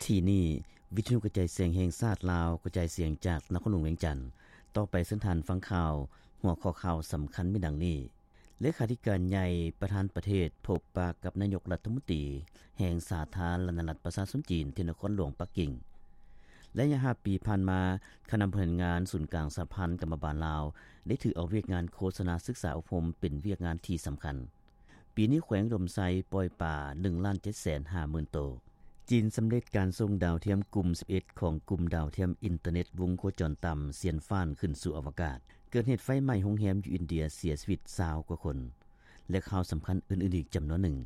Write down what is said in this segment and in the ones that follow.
ທີ່ນີ້ ວິທະຍຸກະຈາຍສຽງແຫ່ງຊາດລາວ ກະຈາຍສຽງຈາກນະຄອນຫຼວງວຽງຈັນ. ຕໍ່ໄປເຊີນທ່ານຟັງຂ່າວ. ຫົວຂໍ້ຂ່າວສຳຄັນມີດັ່ງນີ້: ເລຂາທິການໃຫຍ່ ປະທານປະເທດ ພົບປະກັບນາຍົກລັດຖະມົນຕີແຫ່ງສາທາລະນະລັດປະຊາຊົນຈີນ ທີ່ນະຄອນຫຼວງປັກກິ່ງ. ໄລຍະຫ້າປີຜ່ານມາ, ຄະນະບໍລິຫານງານສູນກາງສະຫະພັນກຳມະບານລາວ ໄດ້ຖືເອົາວຽກງານໂຄສະນາສຶກສາອົບຮົມ ເປັນວຽກງານທີ່ສຳຄັນ. ປີນີ້ແຂວງອຸດົມໄຊປ່ອຍປາ ໜຶ່ງລ້ານເຈັດແສນຫ້າໝື່ນໂຕ. ຈີນສຳເລັດການສົ່ງດາວທຽມກຸ່ມສິບເອັດ ຂອງກຸ່ມດາວທຽມອິນເຕີເນັດວົງໂຄຈອນຕ່ຳ ຊຽນຟານ ຂຶ້ນສູ່ອະວະກາດ. ເກີດເຫດໄຟໄໝ້ໂຮງແຮມຢູ່ອິນເດຍ ເສຍຊີວິດຊາວກວ່າຄົນ ແລະ ຂ່າວສຳຄັນອື່ນໆອີກຈຳນວນໜຶ່ງ.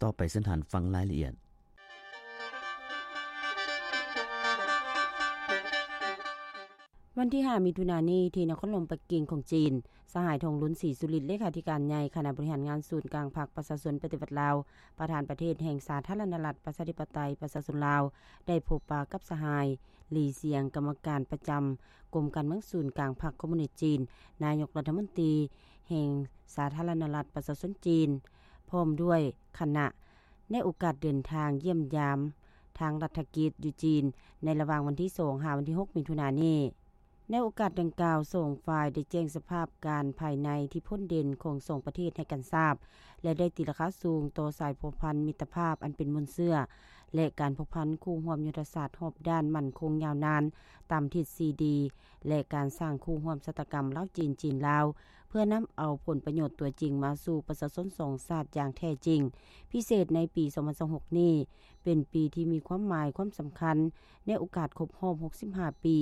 ຕໍ່ໄປເຊີນທ່ານຟັງລາຍລະອຽດ. ວັນທີຫ້າ ມິຖຸນານີ້ ທີ່ນະຄອນຫຼວງປັກກິ່ງຂອງຈີນ, ສະຫາຍ ທອງລຸນ ສີສຸລິດ ເລຂາທິການໃຫຍ່ຄະນະບໍລິຫານງານສູນກາງພັກປະຊາຊົນປະຕິວັດລາວ, ປະທານປະເທດແຫ່ງສາທາລະນະລັດ ປະຊາທິປະໄຕ ປະຊາຊົນລາວ ໄດ້ພົບປະກັບສະຫາຍ ຫຼີ ຊຽງ ກຳມະການປະຈຳກົມການເມືອງສູນກາງພັກຄອມມູນິດຈີນ, ນາຍົກລັດຖະມົນຕີແຫ່ງສາທາລະນະລັດປະຊາຊົນຈີນ ພ້ອມດ້ວຍຄະນະ ໃນໂອກາດເດີນທາງຢ້ຽມຢາມທາງລັດຖະກິດຢູ່ຈີນ ໃນລະຫວ່າງວັນທີສອງ ຫາວັນທີຫົກ ມິຖຸນານີ້. ໃນໂອກາດດັ່ງກ່າວ, ສອງຝ່າຍໄດ້ແຈ້ງສະພາບການພາຍໃນທີ່ພົ້ນເດັ່ນຂອງສອງປະເທດໃຫ້ກັນຊາບ ແລະ ໄດ້ຕີລາຄາສູງຕໍ່ສາຍພົວພັນມິດຕະພາບອັນເປັນມູນເຊື້ອ ແລະ ການພົວພັນຄູ່ຮ່ວມຍຸດທະສາດຮອບດ້ານໝັ້ນຄົງຍາວນານຕາມທິດສີ່ດີ ແລະ ການສ້າງຄູ່ຮ່ວມຊະຕາກຳລາວ-ຈີນ, ຈີນ-ລາວ ເພື່ອນຳເອົາຜົນປະໂຫຍດຕົວຈິງມາສູ່ປະຊາຊົນສອງຊາດຢ່າງແທ້ຈິງ. ພິເສດໃນປີສອງພັນຊາວຫົກນີ້ ເປັນປີທີ່ມີຄວາມໝາຍຄວາມສຳຄັນ ໃນໂອກາດຄົບຮອບຫົກສິບຫ້າປີ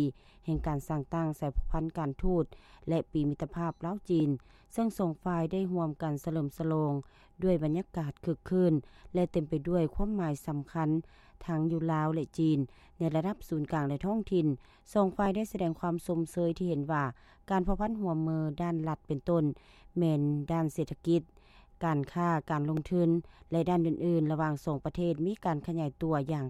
ແຫ່ງການສ້າງຕັ້ງສາຍພົວພັນການທູດ ແລະ ປີມິດຕະພາບລາວ-ຈີນ, ເຊິ່ງສອງຝ່າຍໄດ້ຮ່ວມກັນສະເຫຼີມສະຫຼອງດ້ວຍບັນຍາກາດຄຶກຄື້ນ ແລະ ເຕັມໄປດ້ວຍຄວາມໝາຍສຳຄັນ ທັງຢູ່ລາວ ແລະ ຈີນ ໃນລະດັບສູນກາງ ແລະ ທ້ອງຖິ່ນ. ສອງຝ່າຍໄດ້ສະແດງຄວາມຊົມເຊີຍທີ່ເຫັນວ່າ ການພົວພັນຮ່ວມມືດ້ານລັດເປັນຕົ້ນ ແມ່ນດ້ານເສດຖະກິດ, ການຄ້າ, ການລົງທຶນ ແລະ ດ້ານອື່ນໆ ລະຫວ່າງສອງປະເທດມີການຂະຫຍາຍຕົວຢ່າງ